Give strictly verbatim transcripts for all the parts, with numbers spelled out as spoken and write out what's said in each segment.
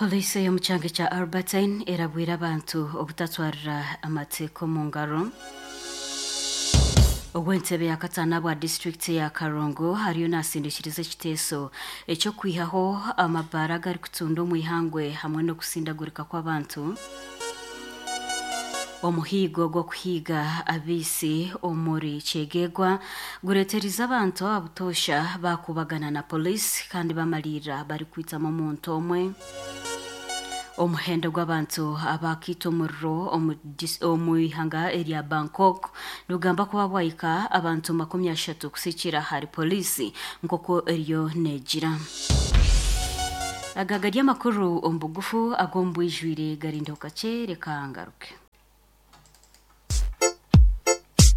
Poliisi y'omu kyanga kya Albertine erabwire abantu obutatwarira amateeka omu ngaro. Ogw'entebe ya kataano bwa disitulikiti ya Karongo hariyo naasindikiriza ekiteeso eky'okwihaho amabaara agarikutunda omu ihangwe hamwe n'okusindagurika kw'abantu. Omuhiigo gw'okuhiiga abaisi omuri Kyegegwa gureeterize abantu ababutoosha baakubagana na poliisi kandi bamaliirira barikwitamu omuntu omwe. Omuhendo gw'abantu abakiita omuriro omu dis- omu ihanga erya Bangkok nigugamba kuba bwahika abantu makumi ashatu kusikira ahari poliisi nk'oku eriyo neegira. Aga gari amakuru omu bugufu ag'omu bwijwire garindeho kakye reka ngaruke.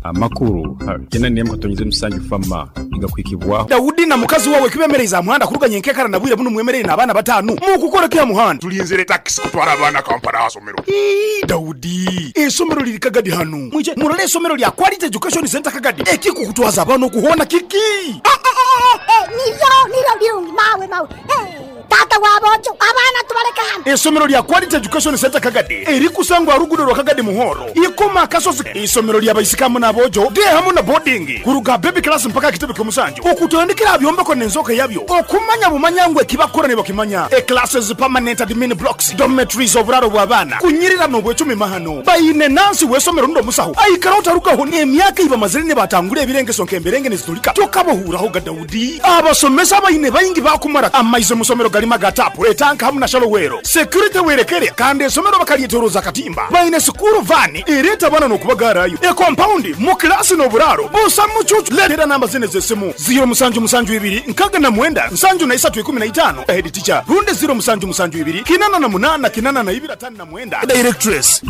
Amakuru kena nemu katonyize musanju fama igakwikibwaho. Daudi na mukazi wawe kibemereza muhanda kuruganya enkekara na bwire buno mwemerere n'abaana batanu mukukora kya muhanda. Tulinzire taxi kutwara abaana Kampala asomero. Ii, Daudi, esomero liri Kagadi hano mwije murole esomero lya Quality Education Center Kagadi ekikukutwaza abaana okuhona kiki. Eh, eh, eh, eh, niryo niryo birungi mawe mawe. Eh, tata wabojo abaana tubaleka hano. Esomero lya Quality Education Center Kagadi erikusangwa rugudo rwa Kagadi Muhoro ikoma akasozi. Isomero lya baisikamu n'abojo de hamu na boarding kuruga baby class mpaka kitebe ky'omusanju okutandikira byombeko n'enzoka yabyo okumanya bumanyangwe kibakora ne bakimanya. E classes, permanent admin blocks, dormitories, oburaro bw'abaana kunyirira n'obwecumi mahano bayine nansi w'esomero ndo musaho aikara otarugaho n'emyaka iba mazire ne batangura ebirengeso nk'emberenge nezitulika tokabohuraho ga Daudi. Abasomesa bayine bayingi bakumara amaize musomero galima gatapu etanka hamu na shalowero security werekere kandi esomero bakalyetoroza katimba bayine sukuru vani ereta bana n'okubagarayo e compound mu klasi n'oburaro busa mucucu. Leetera namba zine z'essimu ziro musanju musanju ibiri nkaga na mwenda nsanju na isatu ikumi na itaano head teacher runde ziro musanju musanju ibiri kinana na munana kinana na ibiri atano na mwenda directress.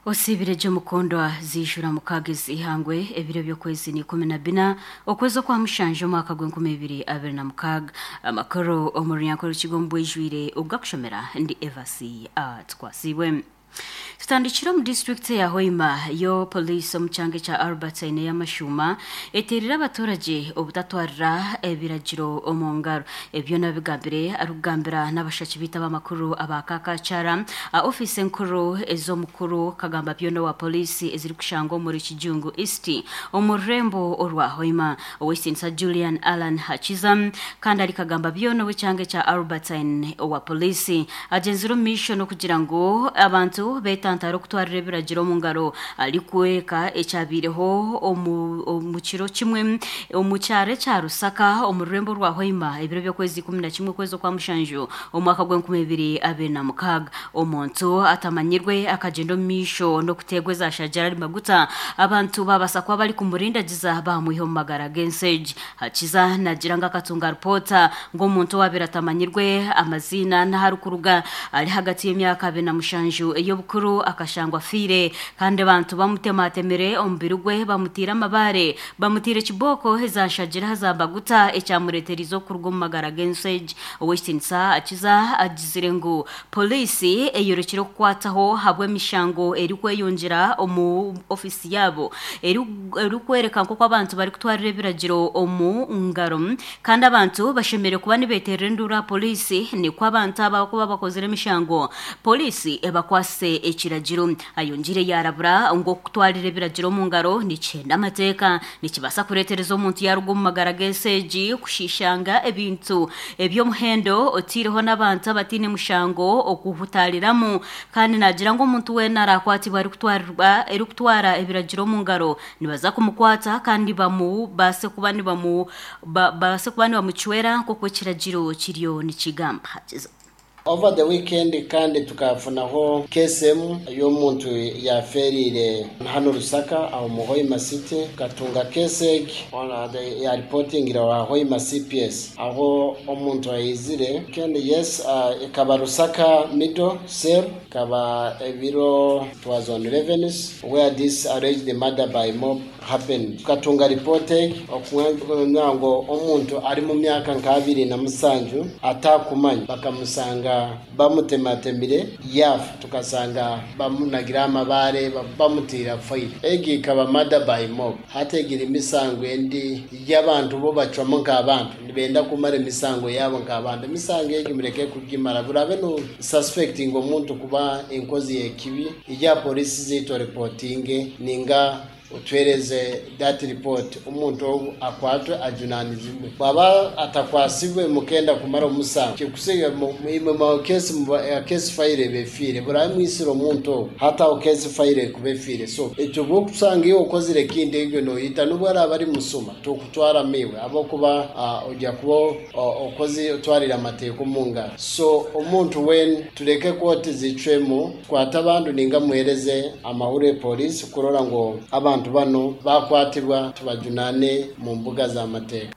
Osibire gye mukondwa zijura mukaaga ihangwe ebiro by'okwezi ni ikumi na bina okwezi okwa mushanja omwaka gw'enkumi ibiri abiri na mukaaga. Amakuru omu runyankore rukigo omu bwijwire ogakushomera ndi Evasi Atwasibwe. Tutandikira omu disitulikiti ya Hoima yo poliisi omu kyanga kya Albertine y'amashuma eteerire abaturage obutatwarira ebiragiro omu ngaro. Ebyo nabigambire arikugambira n'abashaki biita b'amakuru aba Kakakyara ofiisi enkuru ez'omukuru kagamba byona wa poliisi ezirikushangwa omuri Kijungu East omu rurembo orwa Hoima. Ow'ekitinisa Julian Allan Hakiza kandi ari kagamba byona ow'ekyanga kya Albertine owa poliisi agyenzire omu maisho n'okugira ngu abantu betantara okutwarira ebiragiro omu ngaro arikworeka ekyabiireho omu omu kiro kimwe omu kyaro ekya Rusaka omu rurembo rwa Hoima ebiro by'okwezi ikumi na kimwe okwezi okwa mushanju omwaka gw'enkumi ibiri abiri na mukaaga. Omuntu atamanyirwe akagyenda omu maisho n'okuteegwa ezashajara ari maguta abantu babasa kuba bari kumurindagiza bamwiha omu magara g'ensegi. Hakiza nagira ngu akatunga ripoota ng'omuntu owabiire atamanyirwe amaziina n'aharikuruga ari hagati y'emyaka abiri na mushanju ey'obukuru akashangwa afiire kandi abantu bamutematemire omubiri gwe bamutiire amabaare bamutiire ekibooko ezashagira zambaguta ekyamureeterize okuruga omu magara g'ensegi. Ow'ekitinisa Akiza agizire ngu poliisi eyorekire okukwataho habw'emishango erikweyongyera omu ofiisi yaabo erikwereka nk'oku abantu barikutwarira ebiragiro omu ngaro kandi abantu bashemereire kuba nibeeterera enduuru aha poliisi nikwo abantu aba kuba bakozire emishango poliisi ebakwase ekiragiro. Ayongire yarabura ngu okutwarira ebiragiro omu ngaro nikyenda amateeka nikibaasa kureetereza omuntu yaruga omu magara g'ensegi kushishanga ebintu eby'omuhendo otiireho n'abantu abataine mushango okuhutariramu kandi nagira ngu omuntu weena arakwatibwa arikutwarirwa erikutwara ebiragiro omu ngaro nibaza kumukwata kandi bamubaase kuba nibamu ba- baase kuba nibamucwera nk'oku ekiragiro kiriyo nikigamba. Hakiza. Over the weekend kandi tukafunaho case emu y'omuntu yaferire hano Lusaka aho mu Hoima City, tukatunga case egi ya reporting wa Hoima C P S aho omuntu ayizire kandi yes, uh, ikaba Lusaka middle cell, ikaba ebiro, it was on eleven where this alleged murder by mob happened. Tukatunga report okumanya ngo omuntu ari mu myaka nka abiri na musanju atakumanya bakamusanga. Tukasanga bamutematemire yafa, tukasanga bamunagira amabare bamutira faile. Egi ikaba murder by mob. Hati egira emisango endi y'abantu bo bacwamo nk'abantu nibenda kumara emisango yabo nk'abantu. Emisango egi mureke kugimara, burabe no suspecting omuntu kuba enkozi y'ekibi, ijya polisi ziito reportinge ninga utwereze that report, omuntu ogu akwatwe ajunanizibwe. Bwaba atakwasibwe mukenda kumara omusango kikusiga imwe mu case mu case file befire burabe mwisira omuntu ogu hata o case file kubefire. So ekyo bwokusanga iyo okozire kindi egyo noyita nubwo araba ari musuma tukutwara miwe abokuba uh, ojya kuba okozi otwarira amateeka mu ngaro. So omuntu wen tureke koti zicwemo kwata abantu ninga muhereze amahuri polisi kurora ngo abantu bano bakwatibwa tubajunane mu mbuga z'amateka.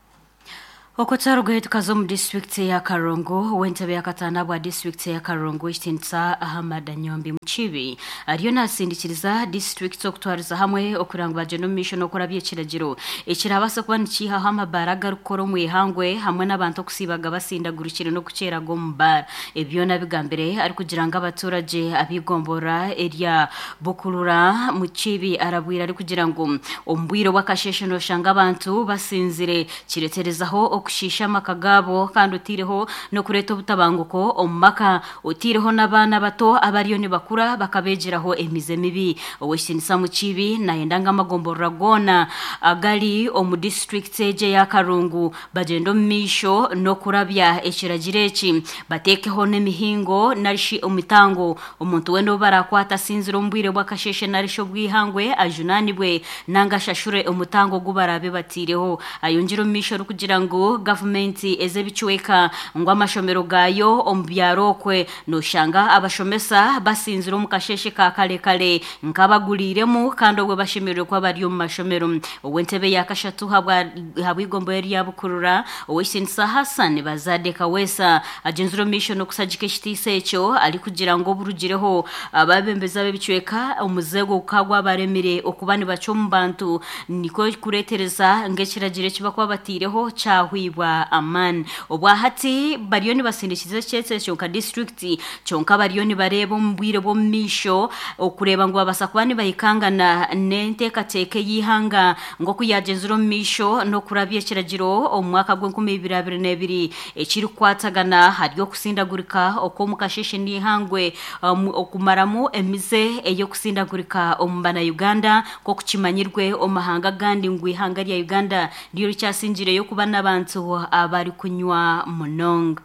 Okutarugayo tukaza omu disitulikiti ya Karongo, w'entebe ya kataana bwa disitulikiti ya Karongo ekitiinisa Ahmad Nyombi Mukibi ariyo nasindikiriza disitulikiti okutwariza hamwe okugira ngu bagyende omu maisho n'okurabya ekiragiro ekirabaasa kuba nikiihaho amabaara agarikukora omu ihangwe hamwe n'abantu okusiibaga basindagurikire n'okukyeraga omu baara. Ebyo nabigambire arikugira ngu abaturage ab'eigombora erya Bukurura. Mukibi arabwire arikugira ngu omu bwire bw'akasheeshe noshanga abantu basinzire kireterezaho okushiisha amaka gaabo kandi otiireho n'okureeta obutabanguko omu maka, otiireho n'abaana bato abariyo nibakura bakabeegyeraho emize mibi. Owekitiinisa Mukibi nayenda ngu amagomborora goona agari omu disitulikiti egi eya Karungu bagyende omu maisho n'okurabya ekiragiro eki, bateekeho n'emihingo narishi omitango omuntu weena ou barakwata asinzire omu bwire bw'akasheeshe narishi obwihangwe ajunaanibwe nanga ashashure omutango ogu baraabe batiireho. Ayongyere omu maisho arikugira ngu gavumenti ez'ebicweka ngu amashomero gaayo omu byaro okwe noshanga abashomesa basinzire omu kasheshe ka kare kare nk'abaguriiremu kandi obwe bashemereire kuba bari omu mashomero. Ow'entebe ya kashatu habw'igombo erya Bukurura owekitiinisa Hassan Bazadde Kaweesa agyenzire omu maisho n'okusagika ekitiisa ekyo arikugira ngu oburugireho ababembezi ab'ebicweka omuzego gukaba gwabaremire okuba nibaca omu bantu nikwo kureetereza ng'ekiragiro eki bakuba batiireho kyahwibwa amaani. Obwahati bariyo nibasindikiza ekyetso ekyo nka disitulikiti, kyonka bariyo nibareeba omu bwire bw'omu maisho okureeba ngu babaasa kuba nibahikangana n'enteekateeka ey'eihanga nk'oku yagyenzire omu maisho n'okurabya ekiragiro omu mwaka gw'enkumi ibiri abiri n'ebiri ekirikukwatagana hari okusindagurika okw'omu kasheshe n'eihangwe um, okumaramu emize ey'okusindagurika omu bana Uganda nk'oku kimanyirwe omu mahanga agandi ngu ihanga rya Uganda niryo rikyasingireyo kuba n'abantu abarikunywa munonga.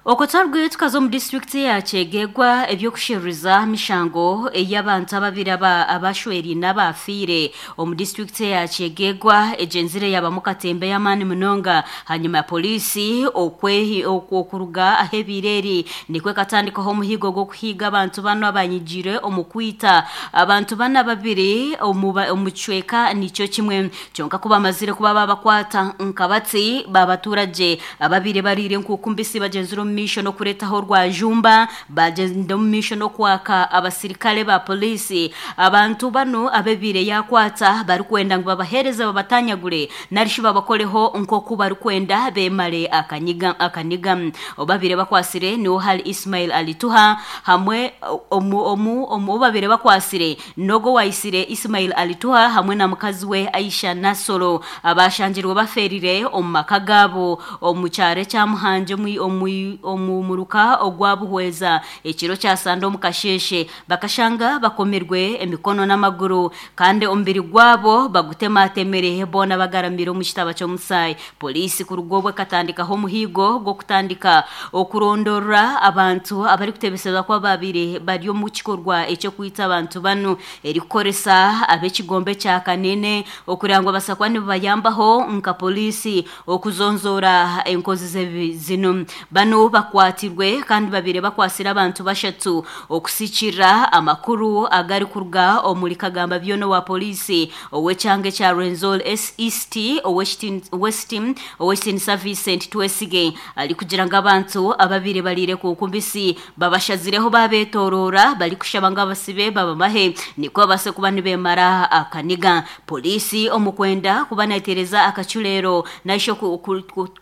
Okutarugayo tukaza omu disitulikiti ya Kyegegwa ebyokusheruriza mishango ey'abantu ababiri aba abashweriine abafiire omu disitulikiti ya Kyegegwa egyenzire yabamu katembe y'amaani munonga hanyuma ya polisi okwehi okuruga ahebiire eri nikwo ekatandikaho omuhigo gw'okuhiiga abantu bano abanyigiire omu kwita abantu bana babiri omu omu kicweka nikyo kimwe. Kyonka ku bamazire kuba babakwata nkabatsi babaturage ababiri bariire enkuku mbisi bagyenzire omu maisho n'okureetaho rwajumba bagyenda omu maisho n'okwaka abasirikare ba polisi. Abantu bano abebiire yakwata barikwenda ngu babaheereze babatanyagure narishi babakoreho nk'oku barikwenda bemare akanyiga akaniga. Obabire bakwasire niwo hari Ismail Alituha hamwe omu omu omu obabire bakwasire nogo waisire Ismail Alituha hamwe na mukazi we Aisha Nasoro abashangirwe baferire omu maka gaabo omu kyaro ekya Muhanje omu omu muruka ogwabuhweza ekiro kyasanda omu kasheshe bakashanga bakomerwe emikono n'amaguru kandi omubiri gwabo bagutematemere boona bagaramire omu kitaba ky'omusaayi. Polisi kuruga obwe ekatandikaho omuhigo gw'okutandika okurondorora abantu abarikutebeseza kuba babiri bari omu kikorwa ekyokwita abantu banu erikukoresa ab'ekigombe kya Kanene okugira ngu babaasa kuba nibabayambaho nka polisi okuzonzora enkozi z'ebibi zino. Bano bakwatirwe kandi babiri bakwasire abantu bashatu okusikira amakuru agarikuruga omuri Kagamba Byono wa polisi ow'ekyanga ekya Rwenzori East West ow'ekitiinisa Vincent Twesige arikugira ngu abantu ababiri bariire ku mbisi babashazireho babetorora barikushaba ngu abasibe babamahe nikwo babaase kuba nibemara akaniga. Polisi omu kwenda kuba neetereza akacurero naisho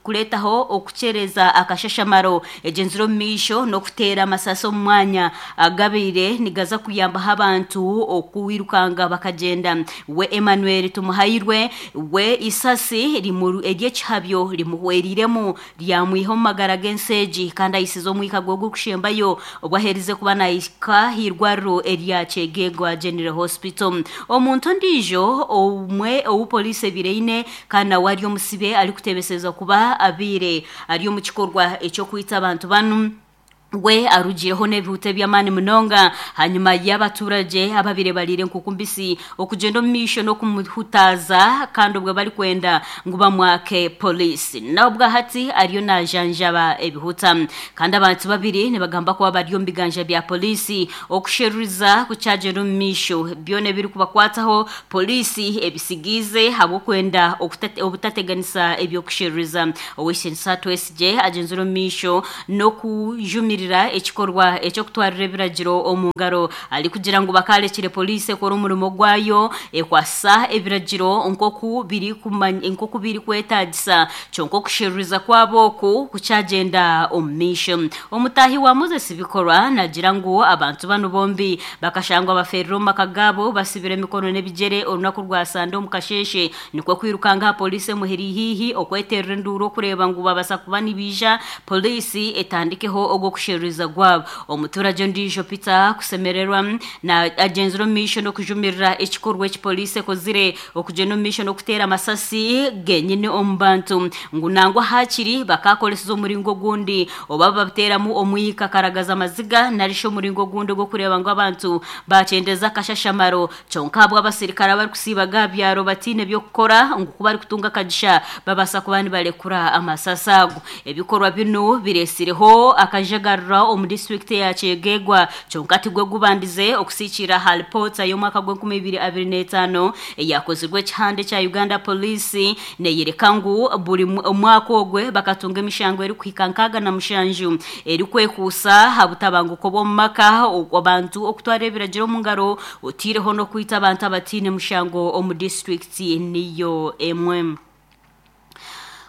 kureetaho okukyereza akashashamaro Egenzire omu maisho n'okuteera amasasi omu mwanya agabaire nigaza kuyambaho abantu okwirukanga bakagenda. We Emmanuel Tumuhairwe we isasi ery'ekihabyo rimuhweriremu ryamwiha omu magara g'enseegi kandi ayisize omwika gwe ogurikushembayo obwo aherize kuba nahika ah'irwariro erya Kyegegwa General Hospital. Omuntu ondiijo omwe ou poliisi ebireine kandi nawe ari omusibe arikutebeseza kuba abiire ari omu kikorwa eky'okwita abantu banu we arugireho n'ebihuta eby'amaani munonga hanyuma y'abaturage ababire barire nkukumbisi okugenda omu maisho n'okumuhutaza kandi obwo barikwenda ngu bamwake poliisi. Nabwo hati ariyo najanjaba ebihuta kandi abantu babiri nibagamba kuba bari omu biganja bya poliisi okusheruriza kukyagenda omu maisho byona ebirikubakwataho poliisi ebisigiize habw'okwenda obutateganisa ebyokusheruriza. Ow'eishenisa Twesigye agenzire omu maisho n'okujumirira ekikorwa eky'okutwarira ebiragiro omu ngaro arikugira ngu bakarekire poliisi ekora omurimo gwayo ekwasa ebiragiro nk'oku biri nk'oku biri kwetagisa kyonka okusheruriza kwabo oku kukyagenda omu maisho. Omutahi wa Moses Bikorwa nagira ngu abantu bano bombi bakashangwa baferire omu maka gaabo basibire emikono n'ebigyere orunaku rwa Sande omu kasheshe nikwo kwirukanga aha poliisi emuhiri hiihi okweterera enduuru okureeba ngu babasa kuba nibiija poliisi etandikeho ogw'okusheruriza gwabo. Omuturage ondiijo Peter Kusemererwa na agenzire omu maisho n'okujumirira ekikorwa eki poliisi ekozire okugenda omu maisho n'okuteera amasasi genyine omu bantu ngu nangwa hakiri bakakoresiza omuringo ogundi oba babateeramu omwika karagaza amaziga narishi omuringo ogundi ogw'okureeba ngu abantu bakyendeza akashashamaro kyonka habwe abasirikare abarikusiiba gabyaro batiine by'okukora ngu kuba barikutunga akagisha babasa kuba nibarekura amasasi ago. Ebikorwa binu biresireho akajagarira omu disitulikiti ya Kyegegwa kyonka tigwe gubandize okusiikira ha ripoota y'omwaka gw'enkumi ibiri abiri n'etaano eyakozirwe ekihande kya Uganda Police neyereka ngu buri omwaka ogwe bakatunga emishango erikuhika nkaaga na mushanju erikwekuusa ha butabanguko bw'omu maka abantu okutwara ebiragiro omu ngaro otiireho n'okwita abantu abatiine mushango omu disitulikiti niyo emwe.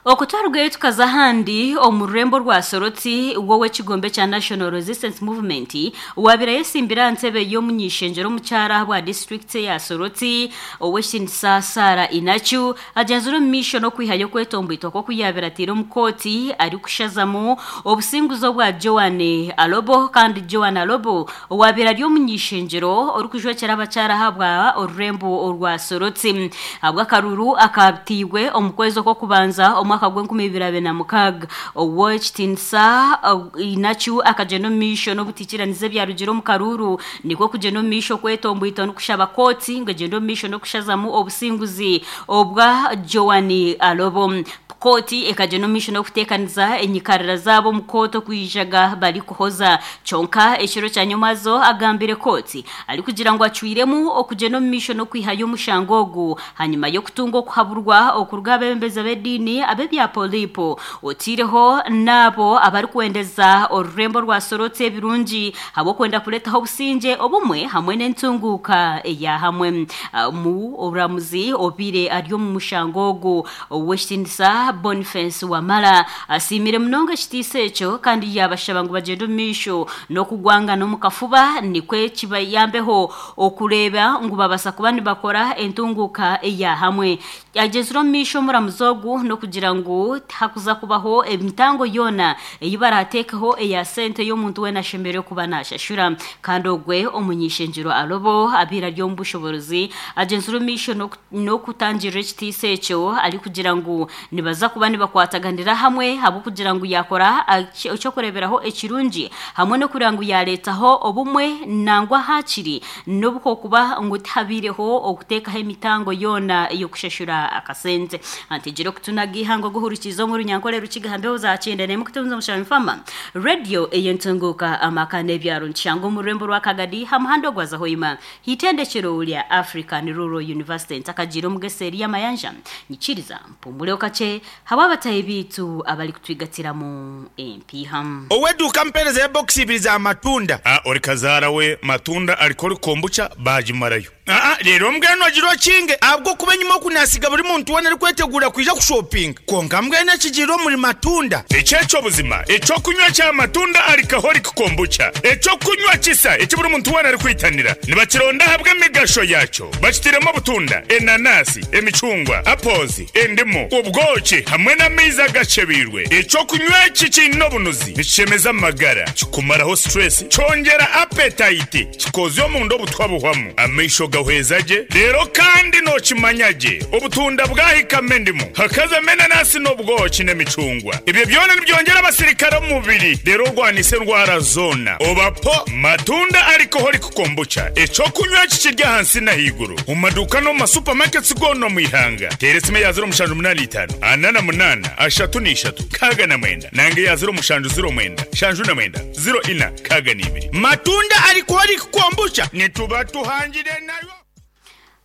Okutwarugayo tukaza ahandi omu rurembo rwa Soroti wowe ekigombe kya National Resistance Movement wabira yesimbira ntebe y'omunyishenjero omukyara bwa district ya Soroti ow'ekinisa Sara Inachu agenzire omu maisho n'okwihayo okwetomboitwa kw'okuyabira atiire omu kooti arikushazamu obusinguzi obwa Joan Alobo kandi Joan Alobo owabira ari omunyishenjero orikujwekyera abakyara ahabwa orurembo orwa Soroti habw'akaruru akatiibwe omu kwezi okw'okubanza omu mwaka gw'enkumi ibiri abiri na mukaaga. Ow'ekitinisa Inachu akagenda omu maisho n'obutikiraniza ebyarugire omu karuru nikwo kugyenda omu maisho okwetomboita n'okushaba kooti ngu egyende omu maisho n'okushazamu obusinguzi obwa Joan Alobo. Kooti ekagenda omu maisho n'okuteekaniza enyikarira zaabo omu kooti okwijaga barikuhoza kyonka ekiro kya nyomazo agambire kooti arikugira ngu acwiremu okugyenda omu maisho n'okwihayo omushango ogu hanyuma y'okutunga okuhaburwa okuruga abebembezi b'ediini ab'ebya polipo otiireho n'abo abarikwendeza orurembo rwa Soroti ebirungi habw'okwenda kureetaho obusingye obumwe hamwe n'entunguuka eya hamwe. Mu oburamuzi obiire ari omu mushango ogu ow'ekitinisa Boniface Wamala asiimire munonga ekitiisa ekyo kandi yabashaba ngu bagyende omu maisho n'okugwangana omu kafuba nikwe kibayambeho okureeba ngu babasa kuba nibakora entunguuka eya hamwe. Agenzire omu maisho omuramuzi ogu n'okugira ngu tihakuza kubaho emitango yoona ei barateekeho eya sente y'omuntu weena ashemereire kuba nashashura kandi ogwe omunyishenjero Alobo abiire ari omu bushoborozi agenzire omu maisho n'okutangirira ekitiisa ekyo arikugira ngu nibaza kuba nibakwataganira hamwe habw'okugira ngu yakora ekyokureeberaho ekirungi hamwe n'okureba ngu yareetaho obumwe nangwa hakiri n'obukokuba ngu tihabiireho okuteekaho emitango yoona ey'okushashura akasente. Antigire okutunaga ihango guhurikiza omu runyankore rukiga mbeho za kyenda n'emwe kutunza omushami fama radio ey'entunguuka amaka n'ebyaro nkishanga omu rurembo rwa Kagadi ha muhanda ogwaza Hoima hitendekero lya African Rural University ntakagira omugeseri y'amayanja nyikiriza mpumuleho kakye haba abatahi biitu abarikutwigatiramu empiiha. Oweduuka mpereza ebokisi ibiri za matunda. Ah, ori kazaara we matunda ariko ori kombucha bagimarayo. Aa rero mbwenu ogira okinge ahabwo kuba enyuma okunasiga buri muntu wena arikwetegura kwija kushopinga konka mbwenu ekigiire omuri matunda. Ekyekyo buzima ekyokunywa kya matunda alcoholic kombucha ekyokunywa kisa eki buri muntu wena arikwitanira nibakironda ahabwa emigasho yakyo bakitiremu obutunda, enanasi, emicungwa, apples, endimu, obwoki hamwe n'amaizi agacebirwe. Ekyokunywa eki kiine obunuzi nikishemeza amagara, kikumaraho stress, kyongera appetite, kikozya omunda obutwa buhwamu, amaisho gahweza gye. Rero kandi nokimanya gye obutunda bwahikamo endimu hakazamo enanasi n'obwoki n'emicungwa, ebyo byona nibyongera abasirikare omu mubiri rero orwanisa endwara zona. Obapo matunda alcoholic kombucha ekyokunywa kikirya ahansi n'ahaiguru mu maduuka no mu masupamaketi goona omu ihanga. Teera esimu ya ziro mushanju munaana itaano ana na munaana ashatu n'ishatu kaaga na mwenda nange ya ziro mushanju ziro mwenda shanju na mwenda ziro ina kaaga n'ibiri. Matunda alcoholic kombucha nituba tuhangire nayo.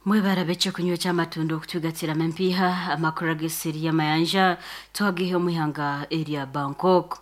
Mwebara beche kunywa ky'amatunda okutugatiramo empiiha. Amakuru ag'esiri y'amayanja twagihe omuihanga erya Bangkok.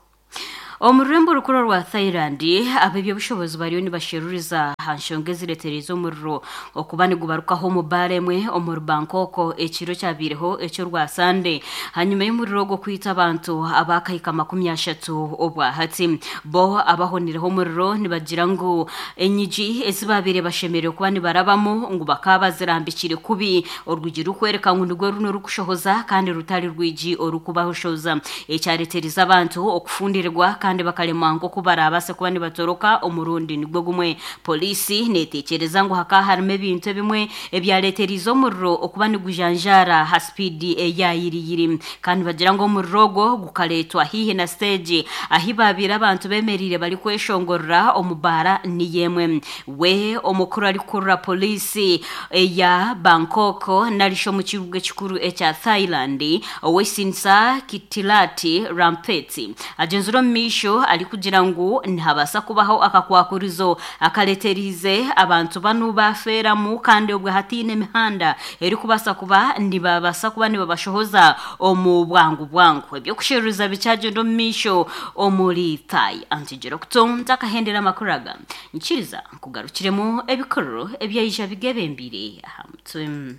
Omu rurembo rukuru rwa Thailand ab'ebyobushobozi bariyo nibasheruriza aha nshonga ezireetereza omuriro okuba nigubarukaho omu baara emwe omuri Bangkok ekiro kyabiireho eky'orwa Sande hanyuma y'omuriro ogwo kwita abantu abakahika makumi ashatu obwahati. Bo abahonireho omuriro nibagira ngu enyigi ezibabiire bashemereire kuba nibarabamu ngu bakaba bazirambikire kubi, orwigi rukwereka ngu nigwo runo rukushohoza kandi rutari rwigi orukubahoshoza, ekyareetereza abantu okufundirwa kandi bakaremwa nk'oku barabaase kuba nibatoroka omurundi nigwo gumwe. Polisi neteekyereza ngu hakaba harimu ebintu ebimwe ebyareeterize omuriro okuba nigujanjaara ha sipiidi eyayiriyiri, kandi bagira ngu omuriro ogwo gukareetwa haihi na siteegi ahi baabiire abantu bemereire barikweshongorera omu baara niyemwe. We omukuru arikukurira polisi eya Bangkok narishi omu kibuga ekikuru ekya Thailand Owesinsa Kitilati Rampeti agenzire omu maisho arikugira ngu nihabaasa kubaho akakwakurizo akareeterize abantu banu bafeeramu kandi obwe hatiine emihanda erikubaasa kuba nibabaasa kuba nibabashohoza omu bwangu bwangu. Ebyokusheruriza bikyagenda omu maisho omuri Thai. Antigira okutonda akahendera amakuru aga nkiriza nkugarukiremu ebikuru ebyaija bigebembire aha mutwe.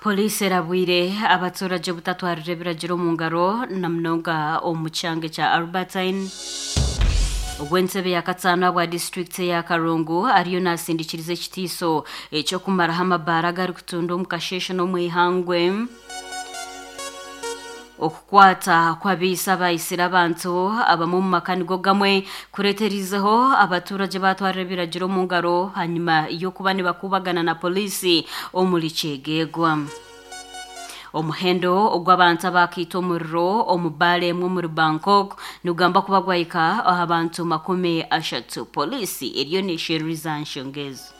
Polisi erabwire abaturage butatwarire ebiragiro omu ngaro na munonga omu kyange kya Albertine. Ogw'entebe ya kataano bwa disitulikiti ya Karungu ariyo nasindikiriza ekitiiso ekyokumaraho amabaara agarikutunda omu kasheeshe n'omu ihangwe. Okukwata kw'abaisa abaisire abantu abamwe omu maka nigo gamwe kureeterizeho abaturage batwarira ebiragiro omu ngaro hanyuma y'okuba nibakubagana na polisi omuri Kyegegwa. Omuhendo ogw'abantu abakiita omuriro omu baara emwe omuri Bangkok nigugamba kuba gwahika aha bantu makumi ashatu. Polisi eriyo neesheruriza nshonga ezo.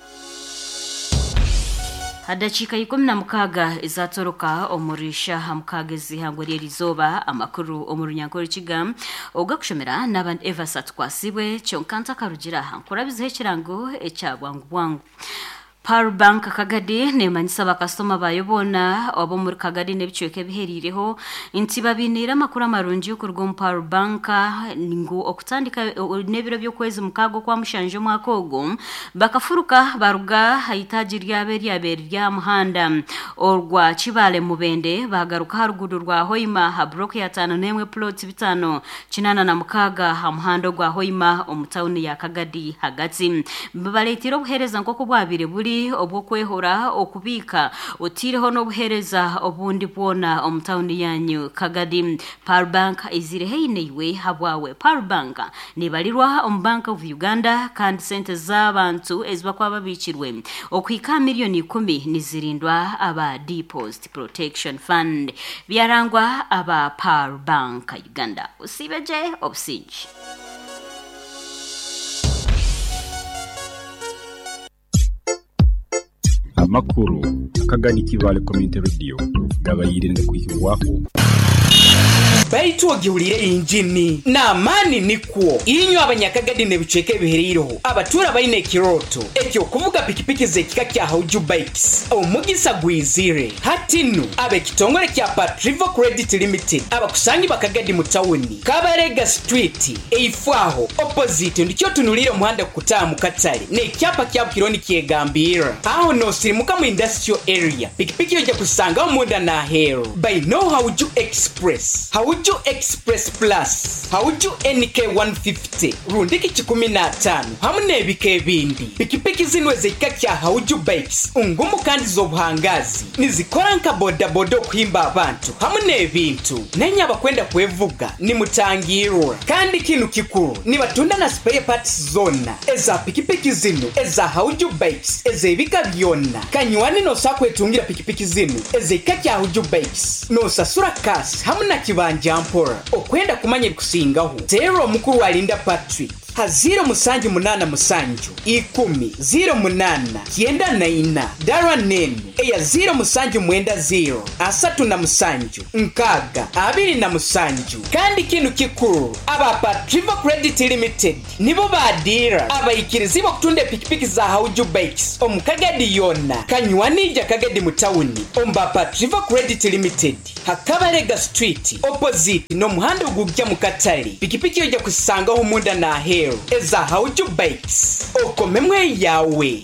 Hadakiika ikumi na mukaaga ezatoroka omuri shaha mukaaga ez'ihangwe ry'erizooba. Amakuru omu runyankore kiga ogakushomera n'abandi Evasa tukwasibwe kyonka ntakarugira aha nkurabizeho ekirango ekya bwangu bwangu. Power Bank Kagadi nemanyisa abakasitoma bayo boona ab'omuri Kagadi n'ebicweka ebiheriireho nti babiniire amakuru amarungi okuruga omu Power Bank ngu okutandika n'ebiro by'okwezi mukaaga okwa mushanju omwaka ogwo bakafuruka baruga aha itaagi ryabo eryabeere rya muhanda orwa Kibale Mubende bagaruka aha ruguudo rwa Hoima aha block ya taano n'emwe plot bitaano kinaana na mukaaga aha muhanda ogwa Hoima omu tawuni ya Kagadi hagati. Baleetire obuheereza nk'oku bwabiire buri obwokwehora okubiika otiireho n'obuheereza obundi bwona omu tawuni yanyu Kagadi. Power Bank ezire heine iwe habwawe. Power Bank nibarirwa omu Bank of Uganda kandi sente z'abantu ezibakuba babiikirwe okuhika miliyoni ikumi nizirindwa aba Deposit Protection Fund. Byarangwa aba Power Bank Uganda. Usibeje obusingi. Amakuru Akagadi Kibale Community Radio gabayire kuhibwaho. Baitu ogihulire injini n'amaani nikwo inywe abanyakagadi n'ebicweka ebihereireho abatura baine ekiroto ekyokuvuga pikipiki z'ekika kya Hauju Bikes omugisa gwizire hatinu ab'ekitongole kya Patrivo Credit Limited abakusangi bakagadi mu tawuni Kabarega Street eifwaho opposite ndikyo tunulire omuhanda kukutaaha mu katale n'ekyapa kya Bukironi kyegambira aho nosirimuka mu industrial area pikipiki ojja kusangaho munda n'aheeru by no Hauju Express, Hauju Express Plus, Hauju N K one fifty rundiki kikumi n'ataano hamu n'ebika ebindi. Pikipiki zino ez'ekika kya Hauju Bikes ngumu kandi z'obuhangazi nizikora nka bodaboda okuhimba abantu hamu n'ebintu nenye abakwenda kwevuga nimutangirwa. Kandi kinu kikuru, nibatunda na spare parts zona eza pikipiki zino eza Hauju Bikes ez'ebika byonna. Kanywani nosa kwetungira pikipiki zino ez'ekika kya Hauju Bikes nosasura kasi hamu na kibanja mpora. Okwenda kumanya ebikusingaho teera omukuru alinda Patrick ha zero musanju munana musanju ikumi zero munana kyenda na ina dara nenu eya zero musanju mwenda zero asatu na musanju nkaaga abiri na musanju. Kandi kinu kikuru, aba Patrivo Credit Limited nibo badira abayikirizi bokutunda epikipiki za Hauju Bikes omu Kagadi yonna. Kanywanija Kagadi mu tawuni omba Patrivo Credit Limited Hakabarega Street opposite n'omuhanda ogujja mu katale. Pikipiki ojja kusangaho munda n'aheeru eza Hauju Bikes okomemwe yawe.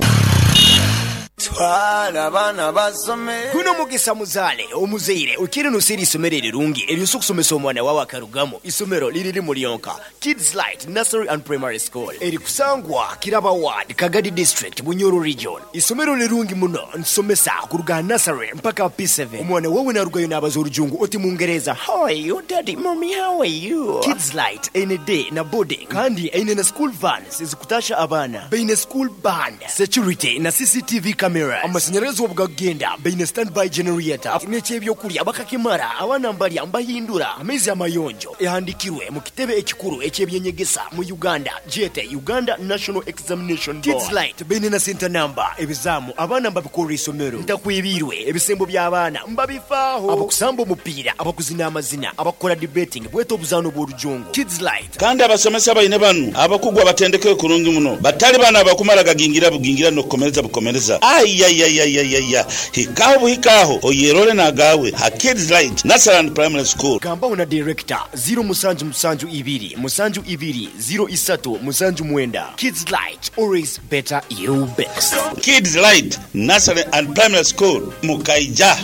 Twala abaana basome. Guno mugisa muzaale omuzaire okiri nosera isomero erirungi eryosa okusomesa omwana wawe akarugamu. Isomero liriri mulyonka Kids Light Nursery and Primary School erikusangwa Kiraba Ward, Kagadi District, Bunyoro Region. Isomero lirungi muno nsomesa kuruga nursery mpaka P seven. Omwana wawe narugayo nabaza orujungu oti mungereza, "How are you, daddy? Mommy, how are you?" Kids Light eine day na boarding kandi eine na school vans ezikutasha abaana, baine school band, security na C C T V cameras. Amasanyarazi obugagenda baine standby generator n'ekyebyokulya bakakimara abaana mbalya mbahindura amaizi amayonjo. Ehandikirwe mu kitebe ekikuru ekyebyenyegesa mu Uganda jete Uganda National Examination Board. Kids Light baine na center number. Ebizamu abaana mbabikorera isomero ntakwibirwe ebisembo by'abaana mbabifaaho abakusamba omupiira, abakuzina amazina, abakora debating bweta obuzaano bw'orujungu. Kids Light. Kandi abasomesa baine banu abakugu abatendekere kurungi muno batali bana abakumara gagingira bugingira nokukomereza bukomereza ayayayayaya hikaho buhikaho oyerole nagawe ha Kids Light Nursery and Primary School. Gambaho na director zero musanju musanju ibiri musanju ibiri zero isatu musanju mwenda. Kids Light, always better you best. Kids Light Nursery and Primary School mukaija.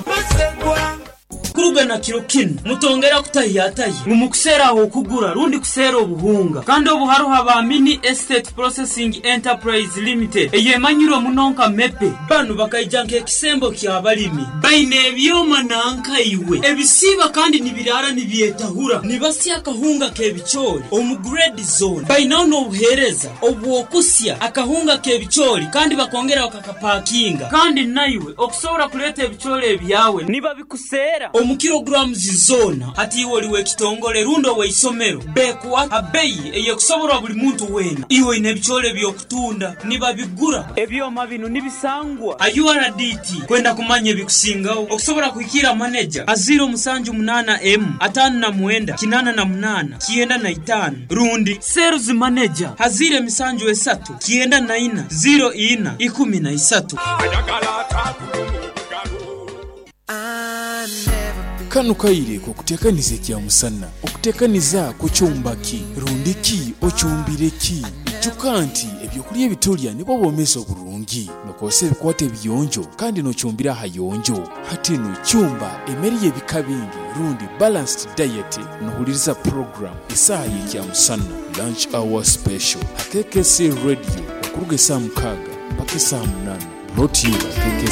Kurugana kiro kinu mutongera kutahiyatahi mumukuseera okugura rundi kuseera obuhunga kandi obu haruho aba Mini Estate Processing Enterprise Limited eyemanyirwe muno nka MEPE. Banu bakaija nk'ekisembo ky'abalimi baine ebyoma nankaiwe ebisiiba kandi nibirara nibyetahura nibasya akahunga k'ebicoori omu grade zone. Bainaho n'obuheereza obw'okusya akahunga k'ebicoori kandi bakongera bakakapakinga kandi naiwe okusobora kuleeta ebicoori ebyawe nibabikuseera omu kilograms zona. Hati iwe oliwe ekitongole rundi oweisomero bekuwa abeyi eyekusoborwa buli muntu wena. Iwe oine ebicoori ebyokutunda nibabigura. Ebyoma bino nibisangwa a U R D T. Kwenda kumanya ebikusingaho okusobora kuhikira maneja a zero musanju munana m atano na mwenda kinana na munana kyenda na itano rundi sales manager hazire emisanju esatu kyenda na ina zero ina ikumi na isatu. Kano kaire kokutekaniza ekyamusana okutekaniza kukyumbaki rundiki okyumbireki. Ijuka nti ebyokulya ebitulya nibwo bwomezi oburungi nokozesa ebikwata ebiyonjo kandi nokyumbira ahayonjo. Hati nokyumba emmere y'ebika bingi rundi balanced diet. Nohuliriza program esaaha y'ekyamusana lunch hour special ha K K C Radio okuruga esaaha mukaaga mpaka esaaha munana, brought to you by K K C.